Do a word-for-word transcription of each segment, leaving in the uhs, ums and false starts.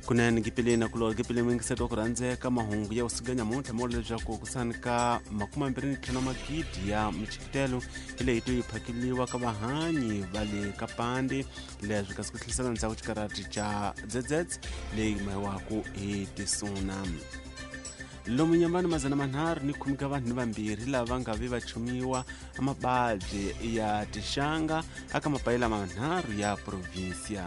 Kunene gipeleni kulo gipeleni mingiseto ku rhandzeka mahungu ya usiku nyamuntlha mo leswaku ku sanika makume mambirhi ni ntlhanu magidi ya michikitelo hi leyi to yi phakeliwa ka vahanyi va le ka Pandi leswi kasi ku tlhelisela ndzhaku xikarati xa D Z Z leyi mahiwaku hi tisuna. Lomu Nyambani mazana manharhu ni khume ka vanhu ni vambirhi lava nga ve va chumiwa mababyi ya tixanga aka mapayila manharhu ya provinsia.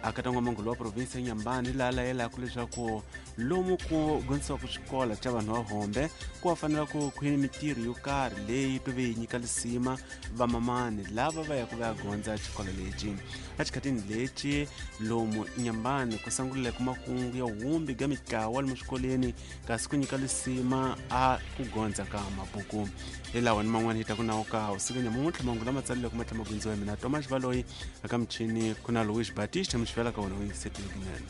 Aka n'wamangulu wa provinsi ya Nyambani laha layelaka leswaku lomu ku gondzisiwaka xikolo xa vanhu va hombe ku va fanela ku khwini mitirho yo karhi leyi to ve yi nyika lisima vamamani lava va yaka va ya gondza xikolo lexi. Exikhatini lexi lomu Nyambani ku sunguleke makungu ya wumbi ga mitlawa lomu swikolweni kasi ku nyika lisima a ku gondza ka mabuku. Hi lawa ni man'wana hi ta ku nawu ka usiku nyamuntlha mahungu lama tsalileke ma tlhela ma gundziwa hi mina Thomas Baloyi aka michini ku na Louis Batista mixivela ka wona u yingisetile kunene.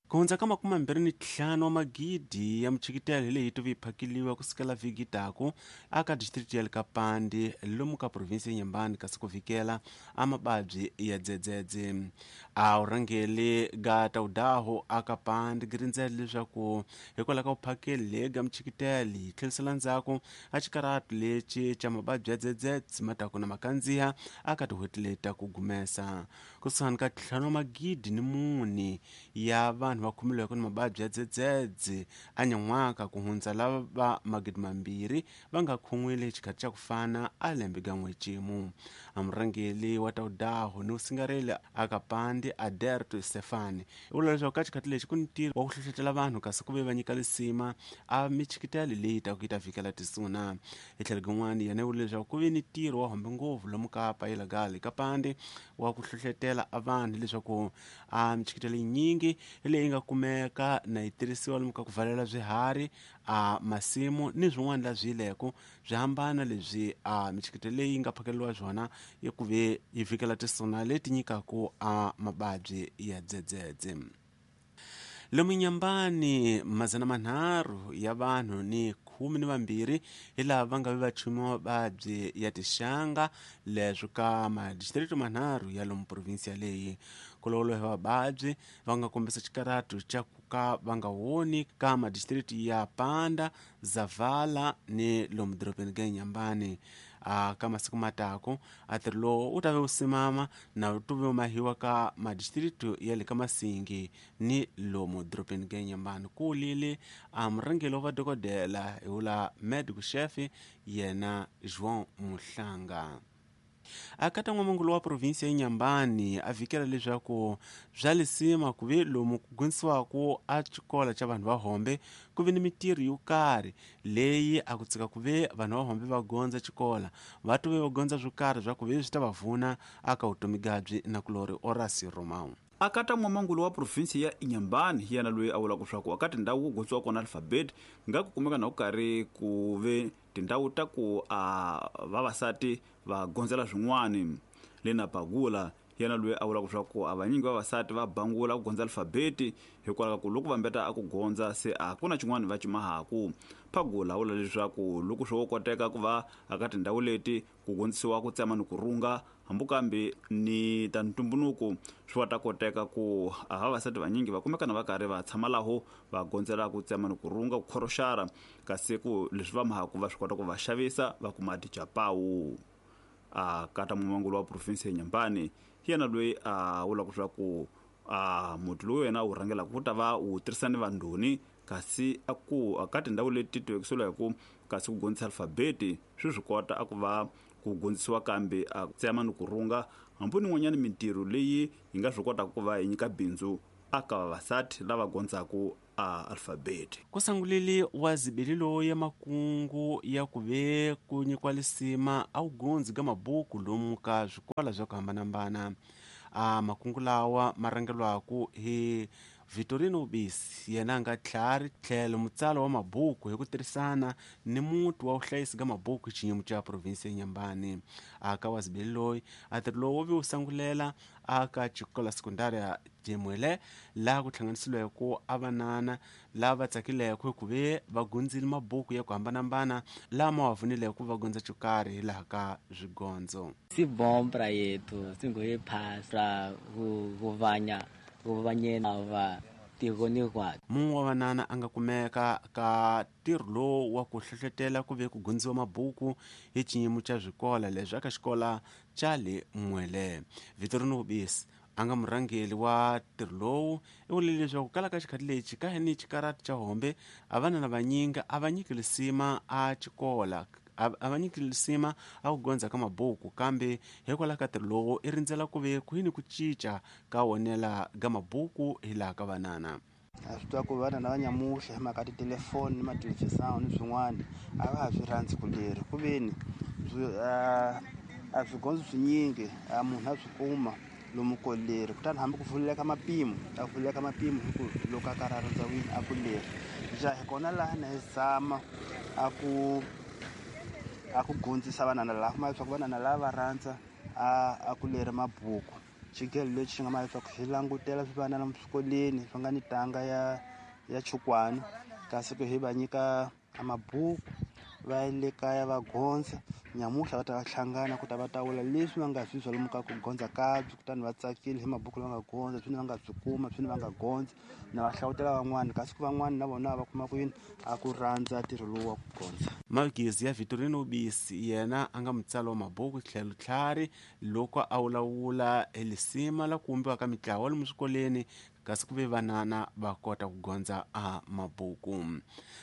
Ku hundza ka makume mambirhi ni ntlhanu wa magidi ya michikitelo hi leyi to vi phakeliwa ku sukela vhiki taku aka district ya le ka Pandi lomu ka provinsi ya Nyambani kasi ku vikela a mababyi ya dzedzedze. A urhangeli ga tawudaho aka Pandi girindzela leswaku hikwalaho ka vuphakeli leyi ga michikitelo yi tlhelisela ndzhaku a xikaratu lexi xa mababyi ya dzedzedze ma taku na makandziha aka tin'hweti leti ku gumesa. Kusuhani ka ntlhanu wa magidi ni mune ya vanhu va khomiweke ni mababyi ya dzedzedze a nyan'waka ku hundza lava va magidi mambirhi va nga khon'wile xikhathi xa ku fana a lembe ga n'wexemu. A murhangeli wa tawudaho ni usingareli aka Pandi Aderto Stefani u vula leswaku ka xikhathi lexi ku ni ntirho wa ku hlohlotela vanhu kasi ku ve va nyika lisima a michikitelo leyi ta ku yi ta vikela tisuna. Hi tlhelo rin'wana yena u vula leswaku ku ve ni ntirho wa hombe ngopfu lomu ka payela gale ka Pandi wa ku hlohlotela a vanhu leswaku a michikitelo yinyingi leyi nga kumeka na yi tirhisiwa lomu ka ku valela swiharhi a masimu ni swin'wana la swi yileko swi hambana leswi a michikitelo leyi nga phakeliwa swona yi ku ve yi vikela tisuna leti nyikaku a mababyi ya dzedzedze. Lomu Nyambani mazana manharhu ya vanhu ni khume ni vambirhi hi lava va nga ve va chumiwa mababyi ya tixanga leswi ka madistrikti manharhu ya lomu provinsi yaleyi. Ku lawuriwa hi vababyi va nga kombisa xikaratu xa ku ka va nga woni ka madistrikti ya Panda, Zavala ni lomu dorobeni ga Nyambani. A ka masiku matako a ntirho lowu wu ta ve wu simama na wu to ve wu mahiwa ka madistrikti ya le ka Masingi ni lomu dorobeni ga Nyambani. Ku lile a murhangeri wa vadokodela hi wula medical chef yena João Muhlanga. Aka ta n'wamangulu wa provinsi ya Nyambani a vikela leswaku bya lisima ku ve lomu ku gondzisiwaka a xikolo xa vanhu va hombe ku ve ni mitirho yo karhi leyi a ku tsika ku ve vanhu va hombe va gondza xikolo va to ve va gondza swo karhi swa ku ve swi ta va vuna aka vutomi gabyi na kulori Orasi Romão. Akata n'wamangulu wa provinsi ya Nyambani yena loyi a vulaka leswaku aka tindhawu ku gondziwa kona alfabeti nga ku kumeka na ku karhi ku ve tindhawu ta ku a vavasati va gondzela swin'wani. Lena Bagula yena loyi a vulaka leswaku a vanyingi vavasati va bangula ku gondza alfabeti hikwalaho ka ku loko va mbeta a ku gondza se a ku na xin'wana va cimahaku. Phagula vula leswaku loko swo koteka ku va aka tindhawu leti ku gondzisiwa ku tsema ni ku runga hambi kambe ni ta ntumbuluko swi va ta koteka ku a vavasati vanyingi va kumeka na va karhi va tshama laho va gondzela ku tsema ni ku runga ku khoroxara kasi ku leswi va mahaku va swi kota ku va xavisa va kuma tichapawu. A kata mumangulu wa provinsi ya Nyambani yena loyi a vulaka leswaku a muti lowu yena wu rhangelaka ku ta va wu tirhisa ni vandhoni kasi a ku aka tindhawu leti tivekisiweke hi ku kasi ku gondzisa alfabeti swi swi kota a ku va ku gondzisiwa kambe a tsema ni ku runga hambi ni n'wanyana mintirho leyi yi nga swi kotaka ku va yi nyika bindzu aka vavasati lava gondzaku a alfabeti. Ku sangulile wa zibili loyi ya makungu ya ku ve ku nyikiwa lisima a wu gondzi ga mabuku lomu ka swikolo swa ku hambanahambana. A makungu lawa ma rhangelwaku hi Vitorino Ubisi yena nga tlhari tlhelo mutsalo wa mabuku hi ku tirhisana ni muti wa vuhlayisi ka mabuku xiyimo xa provinsi ya Inhambane. Aka wa zibeli loyi a ntirho lowu wu vi wu sangulela aka xikola sekundari ya Jemuele laha ku hlanganisiweke a vanana lava tsakileke hi ku ve va gundzile mabuku ya ku hambanahambana lama wa pfunileke ku va gondza xo karhi hilaha ka swigondzo. Si bom pra yetu singo phasa ku ku vanya ku vanyena va tiko ni kwa. Mun'we wa vanana a nga kumeka ka ntirho lowu wa ku hlohletela ku ve ku gundziwa mabuku hi xiyimo xa swikola leswi aka xikola xa le Mwele. Vitorino Ubisi a nga murhangeri wa ntirho lowu i vule leswaku kala ka xikhathi lexi ka ni xikarati xa hombe a vanana vanyingi a va nyiki lisima a xikola a va nyiki lisima a ku gondza ka mabuku, kambe hikwalaho ka ntirho lowu i rindzela ku ve kwini ku cinca ka wonela ka mabuku hilaha ka vanana. A swi tiva ku vanana va nyamuhla hi mhaka titelefoni ni mathelevhizani ni swin'wana a va ha swi rhandzi ku leri ku veni a swigondzo swinyingi a munhu a swi kuma lomu ko leri, kutani hambi ku vuleka mapimo a vuleka mapimo hi ku loko a karhi a rhandza wini a ku leri ja hi kona laha na hi zama a ku a ku gondzisa vanana laha kuma leswaku vanana lava va rhandza a a ku leri mabuku. Xigelo lexi xi nga ma leswaku xi langutela swivanana swikolweni swi nga ni tanga ya ya chukwani, kasi ku hi va nyika mabuku va le kaya va gondza nyamuhla va ta va hlangana ku ta va ta vula leswi va nga swi zwa lomu ka ku gondza kabyi, kutani va tsakile hi mabuku lama nga gondza swini va nga swi kuma swini va nga gondza na va hlawutela van'wana, kasi ku van'wana na vona va kuma ku yini a ku rhandza ntirho lowu wa ku gondza. Magezi ya Vitorino Ubisi yena a nga mutsalo wa mabuku tlhelo tlhari loko a vulavula hi lisima la ku vumbiwa ka mitlawa lomu swikolweni kasi ku ve vanana va kota ku gondza a mabuku.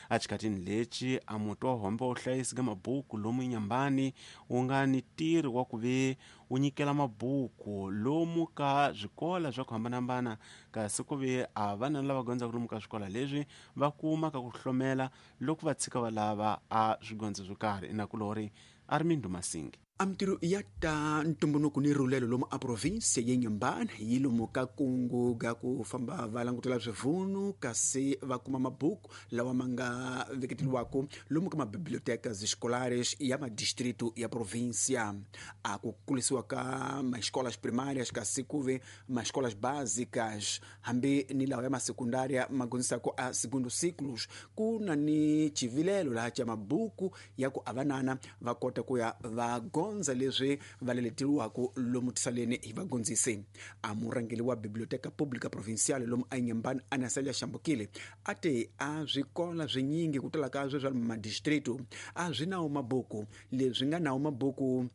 A xikhatini lexi a muti wa hombe wo hlayisi ka mabuku lomu Inhambane wu nga ni ntirho wa ku ve wu nyikela mabuku lomu ka swikola swa ku hambanahambana, kasi ku ve a vanana lava gondzaka lomu ka swikola leswi va kuma ka ku hlomela loko va tshika va lava a swigondzo swo karhi. Inakulori Armindo Masingi. A mintirho ya ta ntumbuluko ni rhulelo lomu a provinsia ya Inhambane yi lomu ka kungu ga ku famba va langutela swivunu kasi va kuma mabuku lawa ma nga veketeliwaka lomu ka mabibliotecas escolares ya madistrito ya província. A ku kulisiwa ka maescolas primárias kasi ku ve maescolas básicas hambi ni lawa ya masekundária ma gondzisaka a segundo ciclos, ku na ni chivilelo laha xa mabuku ya ku avanana va kota ku ya va gondza leswi va leleteliwaka lomu tisaleni hi vagondzisi. A murhangeri wa Biblioteca Pública Provincial lomu a Inhambane Anasalia Xambukile a te a swikola swinyingi ku tala ka swe swa madistrito a swi nawo mabuku, leswi nga nawo mabuku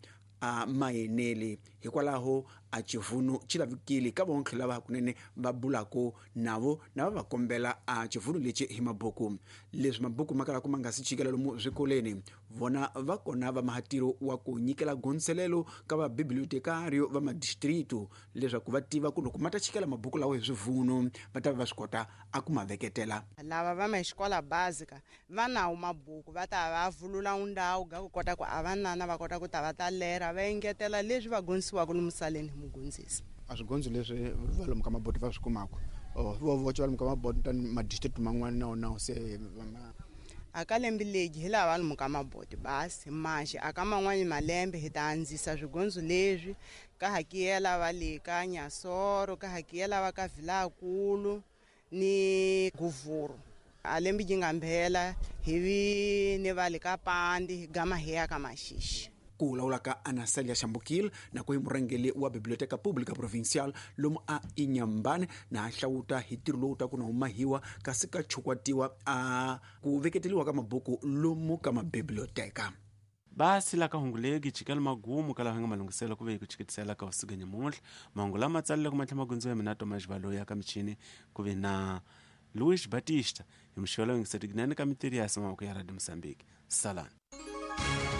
a mayeneli, hikwalaho a xivunu xi lavikile ka vonke lava hakunene va bulako navo na va va kombela a xivunu lexi hi mabuku. Leswi mabuku ma kalaka ma nga si chikela lomu swikolweni, vona va kona va mahatiro wa ku nyikela gondzelelo ka va bibliotekario va madistrito leswaku va tiva ku loko ma ta chikela mabuku lawa hi swivunu va ta va va swi kota a ku ma veketela. Lava va maxikola básica va nawo mabuku va ta va vulula ndhawu ga ku kota ku a vanana va kota ku ta va ta lera va engetela leswi va gondzisiwaka lomu saleni hi mugondzisi. A swigondzo leswi va lomu ka maboti va swi kumaka vo voce va lomu ka maboti tani madistrict man'wana na wona se a ka lembe legi hi lava lomu ka maboti basi manje a ka man'wani malembe hi ta andzisa swigondzo leswi ka hakiyela va le ka Nyasoro, ka hakiyela va ka Vilakulu ni Guvuru. A lembe yi nga mbhela hi vi ni va le ka Pandi hi gama hi ya ka Maxixi. Ku lawula ka Anasalia Xambukile na ku hi murhangeri wa Biblioteca Pública Provincial lomu a Inhambane na hlawuta hi ntirho lowu ta ku na humahiwa kasi ka chukwatiwa a ku veketeliwa ka mabuku lomu ka mabiblioteka. Basi la ka hunguleki chikela magumu kala hanga malungiselo ku ve ku chikitisela ka usiku nyamuntlha mahungu lama tsalile ku matlha magondzo ya mina Thomas Valoyi ya ka michini ku ve na Luis Batista hi mixolo yingisetikinene ka mitirhi ya mavoko ya Radio Mozambique. Salani.